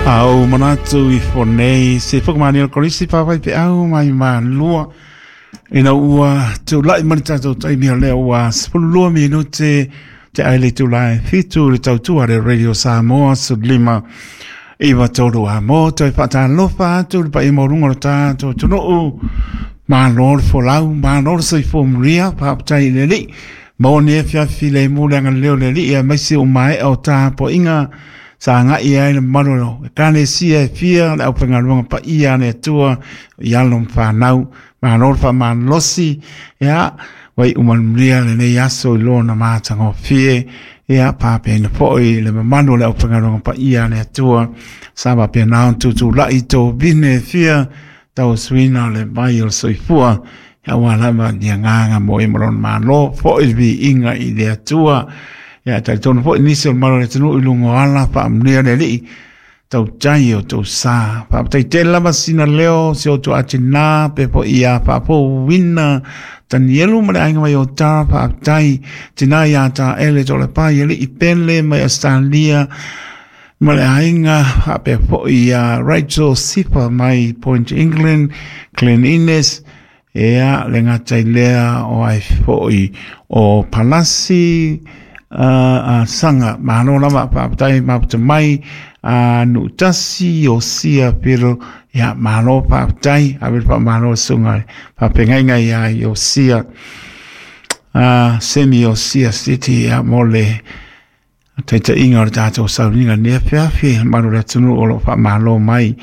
Au manatu ifo nei se whakamani o Kolisi pāwai pe au mai malua ina ua tūlai mani tātou taimi o lea ua 12 minute te aile tūlai fitu le tautua le Radio Samoa su 5 9 3 a mō toi whaatalofa atu le pai maurunga o tātou tunuu Malo le folau, malo le soifua manuia, faafetai i le Alii. Maua nei afiafi le mu le agalelei o le Alii aemaise o maea o tapuaiga sa agai ai le mamalu o Ekalesia e fia le aufaigaluega paia a le Atua i alo ma fanau. Malo le faamalolosi, ia, ua iu manuia lenei aso i lona matagofie. Ia, faapena foi le mamalu o le aufaigaluega paia a le Atua sa faapena ona tutulai i tovine e fia tauasuina o le vai o le soifua, aua lava ni agaga mo ia ma lona Malo, foi le viiga i le Atua. Ia, talitonu foi nisi o le mamalu o le atunuu i luga o ala, faamanuia le Alii, tautai o tou sa. Faafetai tele lava sina leo, si o tou atina, pe foi ia faafouina Tanielu ma le aiga mai o Tara, faafetai tina ia Taele Tolepai, Alii Pele mai Australia, ma le aiga faapea foi ia Rachel Sifa mai Point England, Glen Innes, ea le gata i lea o ai foi o Palasi Sanga. Malo lava, faafetai mafuta mai a Nuutasi o Sia Piro, ia malo faafetai, ave le faamalo i le susuga i le faafeagaiga ia Iosia, Semi Iosia City, ia mo le taitaiga o le tatou sauniga nei afiafi, mamalu o le atunuu o lo o faamalo mai.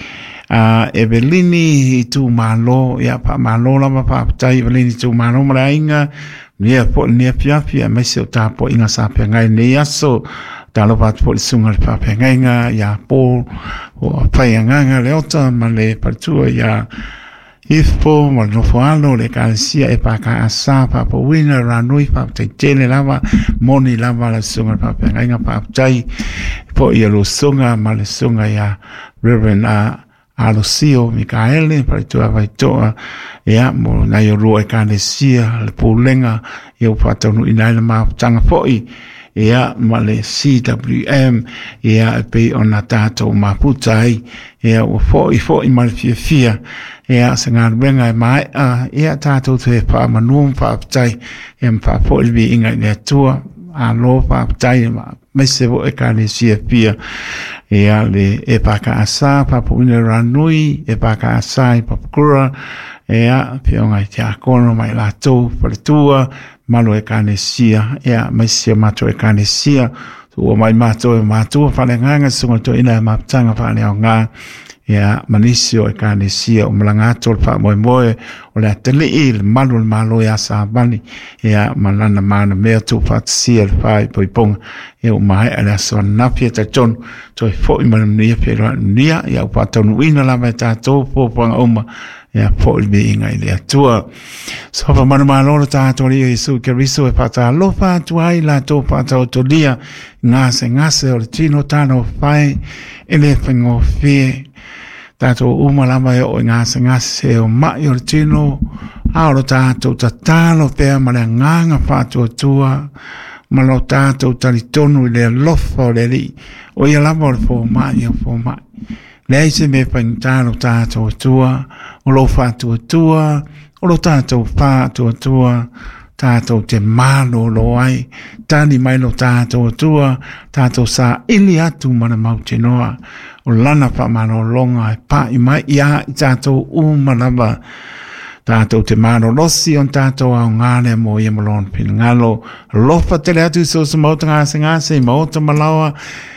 A Evelini Itumalo, ia faamalo lava, faafetai Evelini Itumalo ma le aiga, manuia foi lenei afiafi aemaise o tapuaiga sa feagai lenei aso. Talofa atu foi i le susuga i le faafeagaiga ia Paul o Faiagaga Leota ma le faletua ia Ifo ma le nofo alo o le Ekalesia EFKS faafouina le ranui faafetai tele lava moni lava le susuga i le faafeagaiga faafetai foi i le susuga ma le susuga ia Reverend Alosio Mikaele faletua Vaitoa ia mo nai o lua Ekalesia le pulega ia ua faataunuuina ai le mafutaga foi ia ma le CWM ia e pei ona tatou mafuta ai ia ua foi foi ma le fiafia ia se galuega e maea ia tatou toe faamanu ma faafetai ia ma faafoi le viiga i le Atua. Malo faafetai aemaise foi Ekalesia fia ia le EFKS Papuina Ranui EFKS i Papakura ia afioga i tiakono ma i latou faletua malo Ekalesia ia aemaise o matou Ekalesia ua mai matou e matua faaleagaga susuga toeaina e mafutaga faaleaoga ia ma nisi o Ekalesia o malaga atu o le faamoemoe o le atalii le malu o le Malo ia Savali ia ma lana manamea tuufaatasia le faaipoipoga ia ua maea le aso ananafi e talitonu toe foi mai le manuia feiloai manuia ia ua faataunuuina lava e tatou fuafuaga uma ia foi le viiga i le Atua. Sofa manumalo lo tātou Alii Iesu Keriso e whaatalofa atu ai latou whaataotolia gasegase o le tino talofa e e le faigofie. Tātou uma lava e oo i gasegase o mai o le tino, a o lo tātou tatalo pea ma le agaga faatuatua ma lo tātou talitonu i le alofa o le Alii. O ia lava o le fomai o fomai. Leai se mea faigata lo tātou Atua, o lo faatuatua, o lo tātou faatuatua, tātou te malōlō ai, tali mai lo tātou Atua, tātou saili atu ma le mautinoa, o lana faamalologa e pa'i mai iā i tātou uma lava. Tātou te malolosi o tātou aoga lea mo ia ma lona finagalo. Alofa tele atu i so o se maota gasegase i maota malaoa,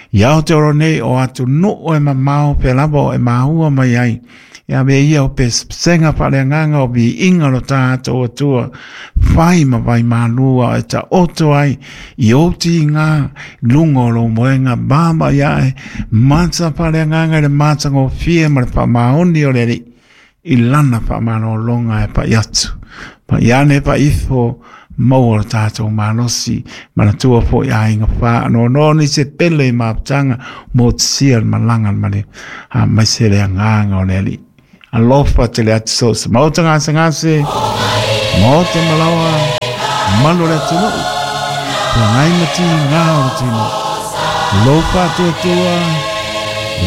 I Aotearoa nei o atunuu e mamao pea lava o e māua mai ai. E ave ia o pesepesega faaleagaga o viiga lo tātou Atua, whai ma vai mālua e taoto ai i ou tīgā i luga o lou moenga mama ia e mata faaleagaga i le matagofie ma le faamaoni o le Alii i lana faamalologa e pai atu. Pai ane pai ifo, maua lo tātou malosi, manatua foi aiga whaanoanoa ni se pele i mafutaga mo te sia le malaga ma le aemaise le agaga o le Alii. Alofa tele atu so se maota gasegase, maota malaoa, malu o le atunuu, feagai ma tigā o le tino. Lou faatuatua,